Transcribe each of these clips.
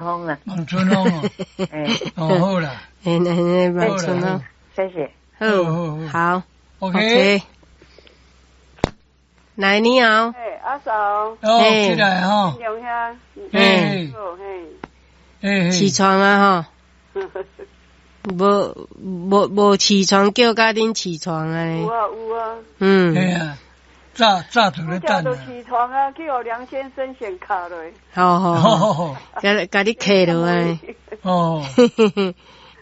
風啦。望春風哦。欸。哦，好啦。欸，欸，望春風。謝謝。好，好。OK。來，你好。欸，阿嫂。哦，起來吼。龍兄。欸。欸。起床啊吼。無無無起床，叫甲恁起床啊！有啊有啊。嗯。嘿啊，早早就咧等。早就起床啊，去予梁先生先敲落。好好好，共共你磕落來。哦。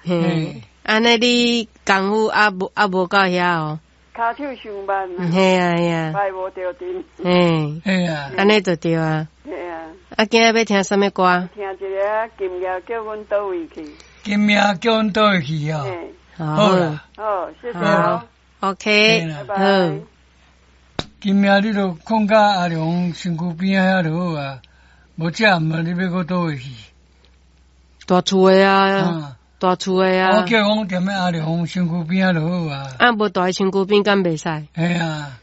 嘿，按呢你工夫猶無猶無到遐哦。跤手傷慢。嘿啊嘿啊。擺無著陣。嘿。嘿啊。按呢就對啊。嘿啊。啊，今仔欲聽啥物歌？聽一个今夜叫阮佗位去。今夜叫阮佗位去哦。好啦。好，謝謝哦。 OK，拜拜。今夜你就睏甲阿良身軀邊仔遐就好啊，無這暗啊，你欲閣佗位去？大厝的啊，大厝的啊。我叫講踮咧阿良身軀邊仔就好啊。啊，無蹛佇身軀邊敢袂使？嘿啊，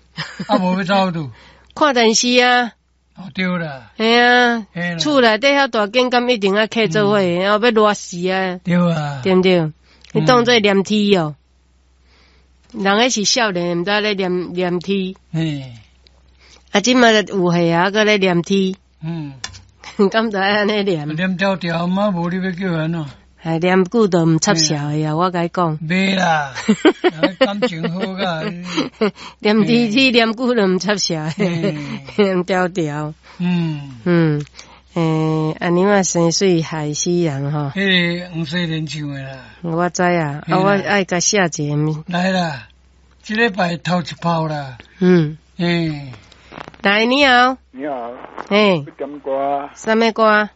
啊無欲走佗？看電視啊。哦，對啦。嘿啊，厝內底遐大間，敢一定愛客做伙，然後欲熱死啊。對啊。對毋對？你當做黏鐵哦。人彼是少年，毋知咧黏黏鐵。啊，這馬有歲啊，閣咧黏鐵。敢知按呢黏？黏條條嘛，無你欲叫按怎？哎，黏久就毋插潲的啊！我共你講。袂啦，感情好甲。黏鐵鐵黏久就毋插潲，黏條條。嗯。欸，按呢嘛生水害死人吼。彼个黃世仁唱的啦。我知啊，啊，我愛共寫一个。來啦，這禮拜頭一炮啦。欸。來，你好。你好。欸。欲點歌。啥物歌？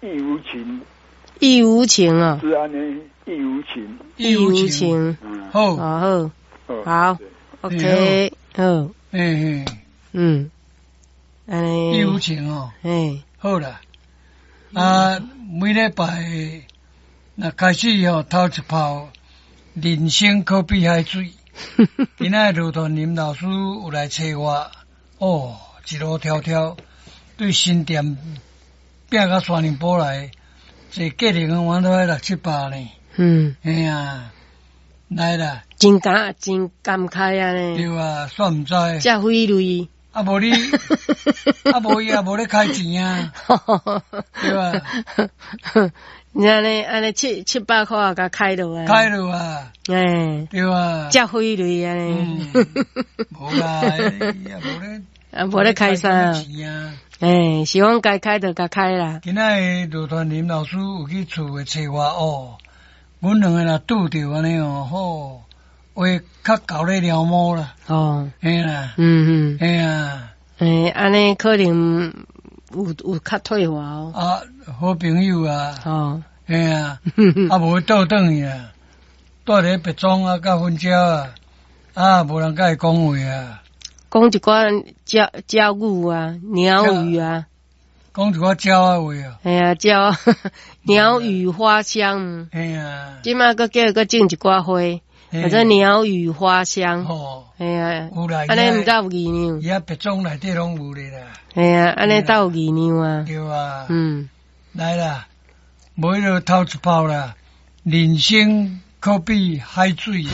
意無情。意無情哦。是按呢，意無情。意無情。好。好。好。OK。好。欸。嗯。按呢。意無情哦。欸。好啦，啊，每禮拜若開始吼，頭一炮，人生可比海水。今仔羅傳林老師有來揣我，哦，一路迢迢對新店拚到山林埔來，坐計程車阮都愛六七百呢。嘿啊，來啦。真感真感慨啊呢。對啊，煞毋知。遮費力。啊無你，啊無伊也無咧開錢啊，對吧？你按呢按呢七七百箍共開落啊？開落啊！欸，對啊。遮費力按呢。無啦，伊也無咧，啊無咧開啥？欸，是講該開就共開啦。今仔日羅傳林老師有去厝內揣我哦，阮兩个若拄著按呢哦，好。話較厚咧貓毛啦。哦。嘿啦。嘿啊。欸，按呢可能有有較退化哦。啊，好朋友啊。哦。嘿啊。啊，無倒轉去啊，蹛佇別莊啊，佮薰蕉啊，啊，無人佮伊講話啊。講一寡鳥鳥語啊，鳥語啊。講一寡鳥仔話啊。嘿啊，鳥鳥語花香。嘿啊。這馬閣叫伊閣種一寡花。反正鳥語花香，嘿啊，按呢毋知有議量。伊啊，別莊內底攏有咧啦。嘿啊，按呢斗有議量啊。對啊。來啦，無彼個頭一炮啦，人生可比海水啊。